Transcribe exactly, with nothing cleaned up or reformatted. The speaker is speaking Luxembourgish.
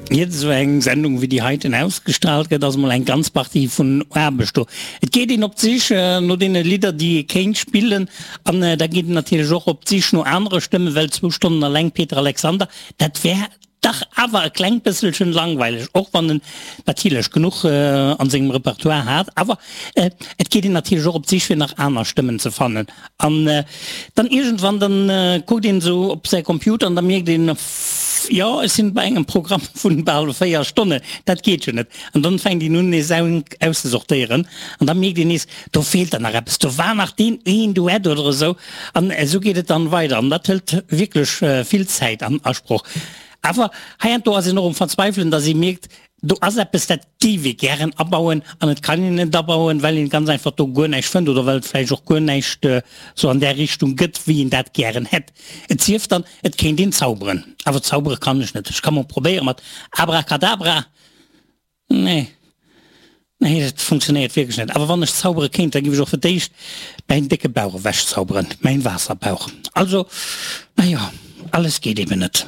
Iert esou eng Sendung wéi déi heiten ausgestrahlt gëtt, ass emol eng ganz Partie vun Aarbecht do. Et geet een op d'Sich no deene Lidder, déi ee kéint spillen, an da geet een natierlech och op d'Sich no anere Stëmmen, well zwou Stonnen alleng Peter Alexander, dat wär dach awer e klengt bësselchen langweileg, och wann en natierlech genuch an sengem Repertoire hat. Awer et geet een natierlech och op d'Sich fir nach aner Stëmmen ze fannen. An dann iergendwann, dann kuckt een esou op säi Computer an da mierkt een, Jo, ech sinn bei engem Programm vun bal véier Stonnen, dat geet jo net. An dann fänkt een un nees auszesortéieren an da mierkt een nees, do feelt der nach eppes, do war nach deen een Duett oder esou. An esou geet et dann weider an dat hëlt wierklech vill Zäit an Asproch. Awer heiansdo ass een och um Verzweifelen, dass ee mierkt, do ass eppes, dat géif ee gären abauen an et kann een net abauen, well een ganz einfach do guer näischt fënnt oder well et vläicht och guer näischt sou an där Richtung gëtt, wéi een dat gären hätt. Et sief dann, et kéint een zauberen. Awer zaubere kann ech net. Ech ka mol probéiere mat Abracadabra. Nee, nee, dat funktionéiert wierklech net. Awer wann ech zaubere kéint, da géif ech och fir d'éischt mäin décke Bauch ewechzauberen, mäin Waasserbauch. Also, na jo, alles geet eben net.